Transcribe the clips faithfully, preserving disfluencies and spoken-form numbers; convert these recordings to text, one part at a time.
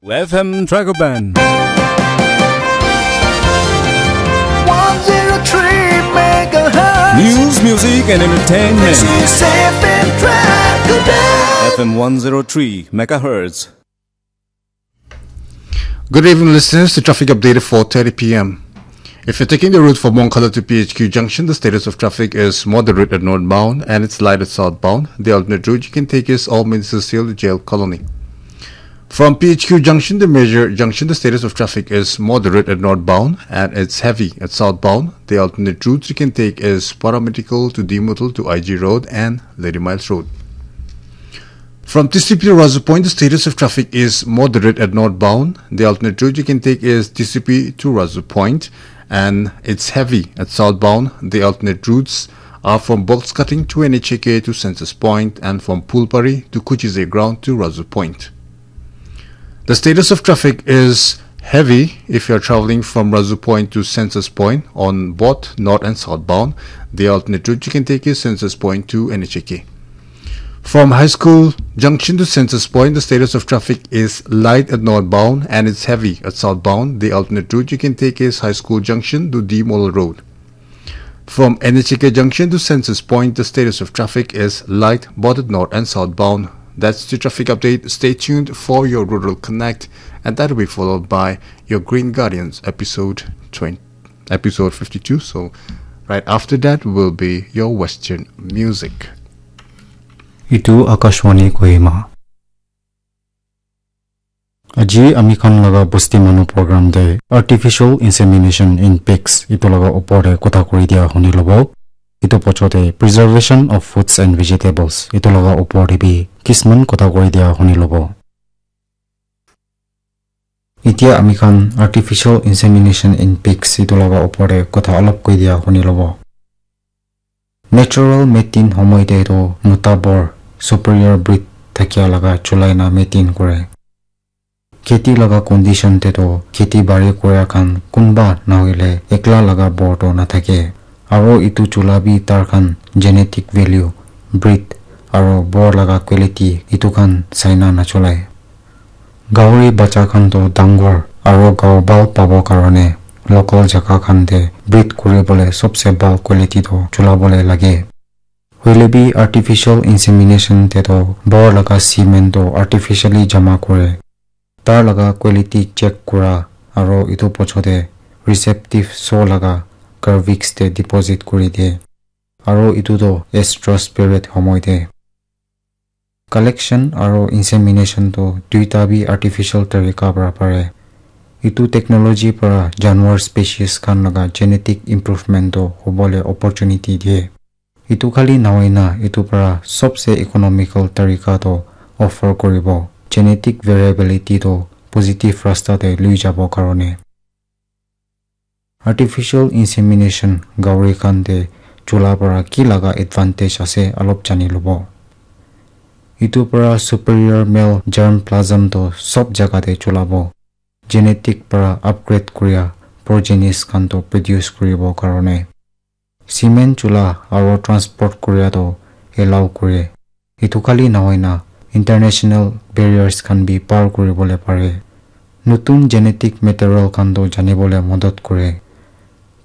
F M Dragoban. One zero three megahertz. News, music, and entertainment. This is F M Dragoban. F M one zero three megahertz. Good evening, listeners. The traffic update at four thirty p m. If you're taking the route from Moncala to P H Q Junction, the status of traffic is moderate at northbound and it's light at southbound. The alternate route you can take is Old Minister Jail Colony. From P H Q Junction to Major Junction, the status of traffic is moderate at northbound and it's heavy at southbound. The alternate routes you can take is Paramedical to Dimutul to I G Road and Lady Miles Road. From T C P to Razu Point, the status of traffic is moderate at northbound. The alternate route you can take is T C P to Razu Point, and it's heavy at southbound. The alternate routes are from Box Cutting to N H A K to Census Point and from Pulpari to Kuchize Ground to Razu Point. The status of traffic is heavy if you're traveling from Razu Point to Census Point on both north and southbound. The alternate route you can take is Census Point to N H A K. From High School Junction to Census Point, the status of traffic is light at northbound and it's heavy at southbound. The alternate route you can take is High School Junction to D Mall Road. From N H A K Junction to Census Point, the status of traffic is light both at north and southbound. That's the traffic update. Stay tuned for your Rural Connect, and that will be followed by your Green Guardians episode twenty, episode fifty-two. So, right after that will be your Western music. Itu Akashvani Kohima. Aji ami khan laga bosti manu program te artificial insemination in pigs itu laga upor te kotha kuri dia huni lobo. Itu pocho te preservation of fruits and vegetables itu laga upor te bi kisman kotha kuri dia huni lobo. Itia ami khan artificial insemination in pigs itu laga upor te kotha olop koi dia huni lobo. Natural mating homoi te toh mota bor superior breed thakia laga chulai na mating kore. Kheti laga condition te toh kheti bari koria khan kunba nahoile ekla laga bor toh nathake. Aro itu chula bi tar khan genetic value, breed aro bor laga quality itu khan saina nachulai. Gauri bacha khan toh dangor aro gao bhal pabo karone local jaka khan te breed kuribole sobse bhal quality toh chulabole lage. Hoile bi artificial insemination te toh bor laga semen toh artificially jama kure. Tar laga quality check kura aro itu pocho te receptive so laga cervix te deposit kuri de. Aro itu toh estrus period homoi te. Collection aro insemination toh duita bi artificial tarika para pare. Itu technology para janwar species khan laga genetic improvement toh hobole opportunity diye. Itu khali nahoina itu para sobse economical tarika toh offer kuribo. Genetic variability toh positive rasta te lui jabo karone. Artificial insemination gauri khan te chula para ki laga advantage ase olop jani lobo. Itu para superior male germplasm toh sob jaga te chulabo. Genetic para upgrade kuria progenies khan toh produce kuribo karone. Semen chula aro transport kuria toh allow kure. Itu khali nahoina international barriers khan bi par kuribole pare. Nutun genetic material khan toh janibole modot kure.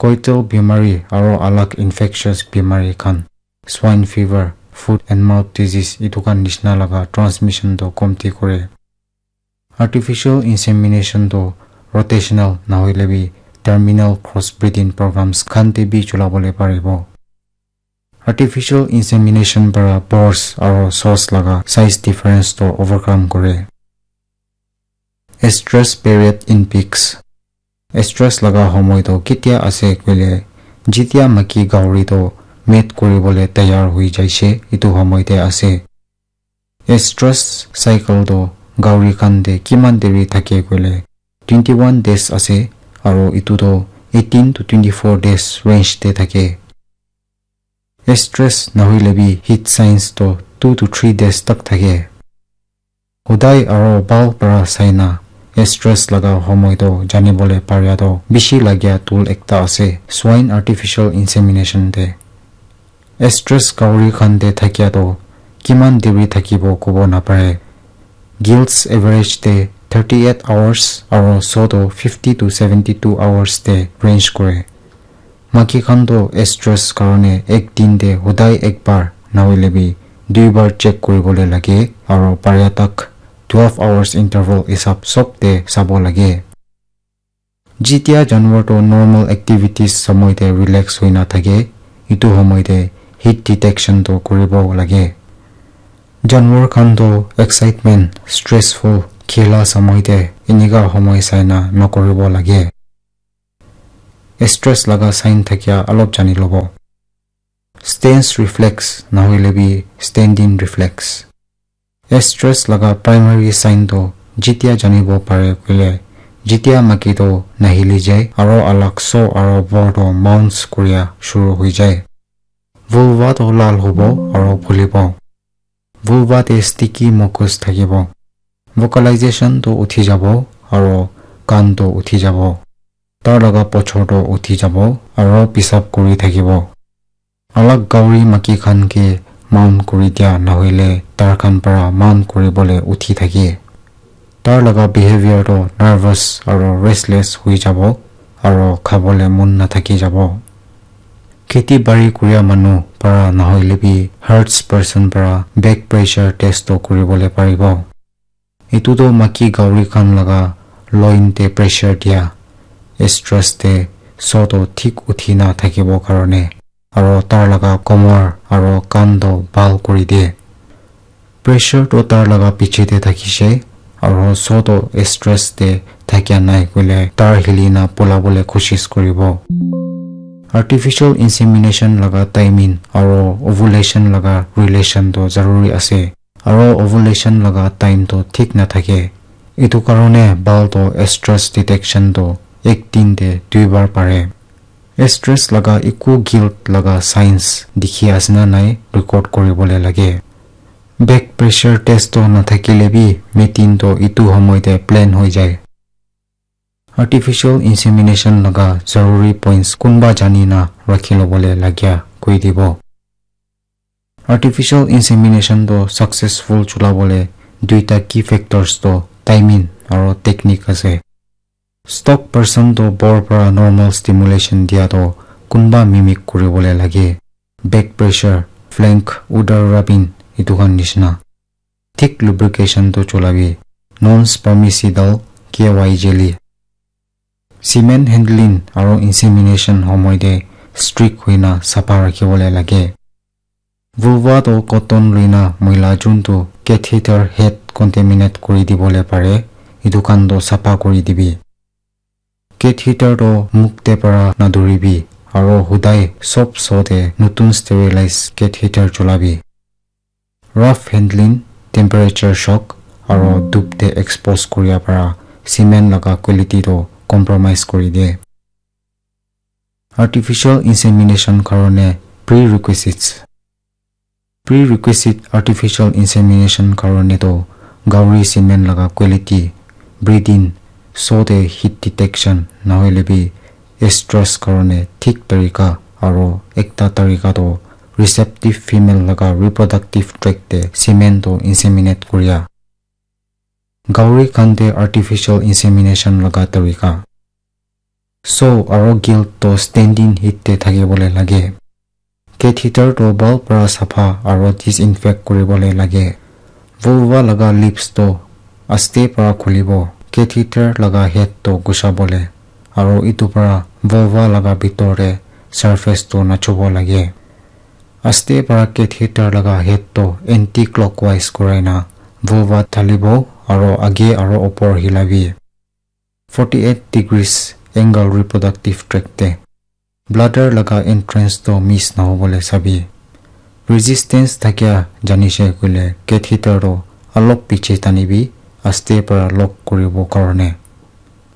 Coital bimari aro alag infectious bimari khan, swine fever, foot and mouth disease itu khan nishina laga transmission toh komti kure. Artificial insemination toh rotational nahoile bi terminal crossbreeding programs khan te bi chulabole paribo. Artificial insemination para pores aro source laga size difference toh overcome kore. Estrus period in pigs. Estrus laga homoi toh ketia ase koile, jitia maki gauri toh mate kuribole tayar hui jaise, itu homoi te ase. Estrus cycle toh gauri khan te kiman deri thake koile, twenty one days ase, aro itu toh eighteen to twenty four days range te thake. Estrus nahoile bi heat signs toh two to three days tak thake. Hodai aro bhal para saina estrus laga homoi toh janibole paria toh bishi lagia tool ekta ase, swine artificial insemination te. Estrus gauri khan te thakia toh kiman deri thakibo kobo napare. Gilts average te thirty eight hours aro so toh fifty to seventy two hours te range kore. Maiki khan toh estrus karone ek din te hodai ekbar nahoile bi duibar check kuribole lage aro paria tak twelve hours interval hisab sob te sabo lage. Jitia janwar toh normal activities samoi te relax hoina thake, itu homoi te heat detection toh kuribo lage. Janwar khan toh excitement, stressful, khela samoi te enika homoi saina nokuribo lage. Stress laga sign thakia alop jani lobo. Stance reflex nahoile bi standing reflex. Stress laga primary sign toh jitia janibo pare koile, jitia maiki toh nahili jai aro alak so aro bor toh mounce kuria shuru hoi jai. Vulva toh lal hobo aro phulibo. Vulva te sticky mucus thakibo. Vocalization toh uthi jabo aro kan toh uthi jabo. Tar laga pochor toh uthi jabo aro pisap kuri thakibo. Alak gauri maiki khan ke mount kuri dia nahoile tar khan para mount kuribole uthi thake. Tar laga behavior toh nervous aro restless hui jabo aro khabole mon nathaki jabo. Kheti bari kuria manu para nahoile bi herdsperson para back pressure test toh kuribole paribo. Etu toh maiki gauri khan laga loin te pressure dia, stress te so toh thik uthi na thakibo karone, aro tar laga komor aro kan toh bhal kuri de. Pressure toh tar laga piche te thakishe, aro so toh stress te thakia nai koile tar hili na pulabole koshish kuribo. Artificial insemination laga timing aro ovulation laga relation toh zaruri ase. Aro ovulation laga time toh thik nathake. Etu karone bhal toh stress detection toh ek din te duibar pare. Stress laga eku guilt laga signs dikhi ase na nai record kuribole lage. Back pressure test toh nathakile bi mating toh etu homoi te plain hoi jai. Artificial insemination laga zaruri points kunba jani na rakhi lobole lagia koi dibo. Artificial insemination toh successful chulabole duita key factors toh timing aro technique ase. Stock person toh bor para normal stimulation dia toh kunba mimic kuribole lage. Back pressure, flank, udder rubbing, etu khan nishina. Thik lubrication toh chulabi. Non-spermicidal K Y jelly. Semen handling aro insemination homoi te strict hoina sapha rakhibole lage. Vulva toh cotton loina moila juntu catheter head contaminate kuri dibole pare, etu khan toh sapha kuri dibi. Catheter toh muk te para naduribi aro hudai sob so te nutun sterilize catheter chulabi. Rough handling, temperature shock, aro dup te expose kuria para semen laga quality toh compromise kuri de. Artificial insemination karone prerequisites. Prerequisite artificial insemination karone toh gauri semen laga quality, breeding, so te heat detection, nahoile bi estrus karone thik tarika aro ekta tarika toh receptive female laga reproductive tract te semen toh inseminate kuria. Gauri khan te artificial insemination laga tarika. So aro guilt toh standing heat te thakibole lage. Catheter toh bhal para sapha aro disinfect kuribole lage. Vulva laga lips toh aste para khulibo. Catheter laga head toh gushabole aro etu para vulva laga bitor te surface toh nachubo lage. Aste para catheter laga head toh anti-clockwise kurai na vulva thalibo aro age aro opor hilabi. Forty eight degrees angle reproductive tract te. Bladder laga entrance toh miss nahobole sabi. Resistance thakia janishe koile catheter toh alop piche tanibi, aste para lock kuribo karone.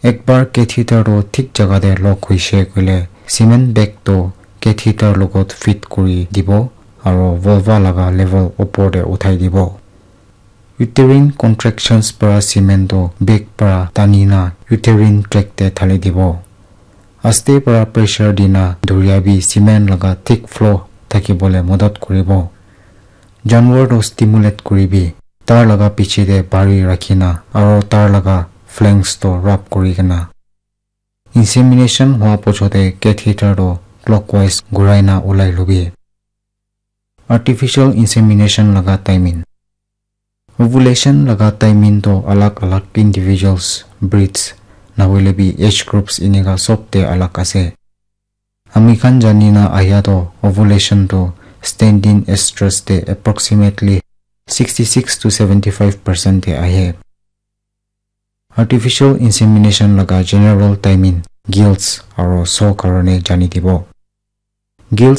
Ekbar catheter toh thik jaga te lock hoishe koile semen bag toh catheter logot fit kuri dibo aro vulva laga level opor te uthai dibo. Uterine contractions para semen toh bag para tani na uterine tract te thali dibo. Aste para pressure dina duriabi semen laga thick flow thakibole modot kuribo. Janwar toh stimulate kuribi, tar laga piche te bari rakhina aro tar laga flanks to rub kuri kena. Insemination hua pochote catheter to clockwise gurai na ulai lobi. Artificial insemination laga timing. Ovulation laga timing to alag alag individuals, breeds, nahoile bi age groups inika sob te alag ase. Ami khan jani na ahia to ovulation to standing estrus te approximately sixty-six to seventy-five percent te ahe. Artificial insemination laga general timing, gills aro so karone jani dibo. Gills